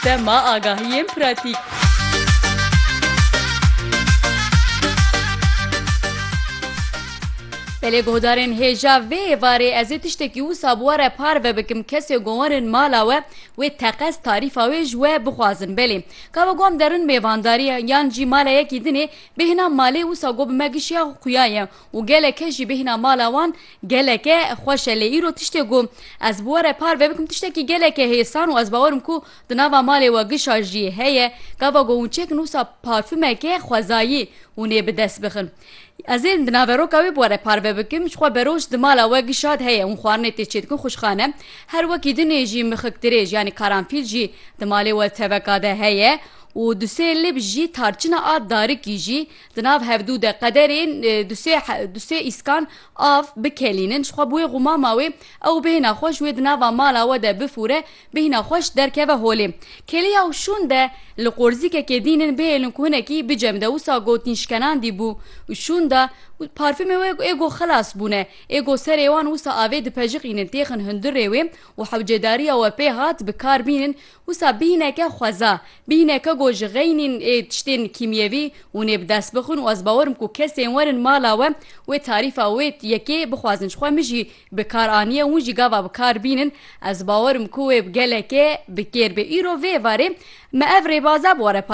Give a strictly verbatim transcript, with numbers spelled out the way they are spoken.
Dema agahiyên pratîk. Belê guhdarên hêja vê êvarê ez ê tiştekî wisa bi we re parve bikim, kesê ku werin mala we, wê teqez tarîfa wê ji we bixwazin. Belê, ka we ku em derin mêvandarî yan jî mala yekî dinê, bêhna malê wisa ku bi me gişiya xuya ye û geleke jî bêhna mala wan geleke xweş e. Lê îro tiştê ku ez bi we re parve bikim, tiştekî geleke hêsan û ez bawerim ku di nava malê we gişa jî heye. Gava ku hûn çêkin wisa parfumeke xwezayî hûn ê bi dest bixin. Ez ê di naveroka wê bi we re parve bikim, ji xwe beroj di mala we gişa de heye, hûn xwarinê tê çêdikin xwişxane. Her wekî dinê jî mixik dirêj, yanî karanfîl jî di malê we teveka de heye û du sê lib jî tarçina a darikî jî di nav hevdû de qederên, e, du sê he-, du sê îskan av bikelînin. Ji xwe bi wê xumama wê ew bêhna xweş wê di nava mala we de bifûre, bêhna xweş derkeve holê. Kêliya û şûn de li qorzîkekê dînin bihêlin ku hinekî bicem de wisa gotîn şkenandî bû û şûn de parfumê wê ê go xilas bûne. Ê go serê wan wisa avê dipejiqînin têxin hundirê wê û hewcedariya we pê hat bi kar bînin. Wisa bîneke xweza, bîneke ku ji xeynîn ê tiştên kîmyevî hûn ê bi dest bixin û ez bawerim ku kesên werin mala we wê tarîfa wê yekê bixwazin. Ji xwe min jî bi kar aniye, hûn jî gava bi kar bînin. Ez bawerim ku wê bi geleke bi kêr bê. Îro vê êvarê me ev rêbaza bi we re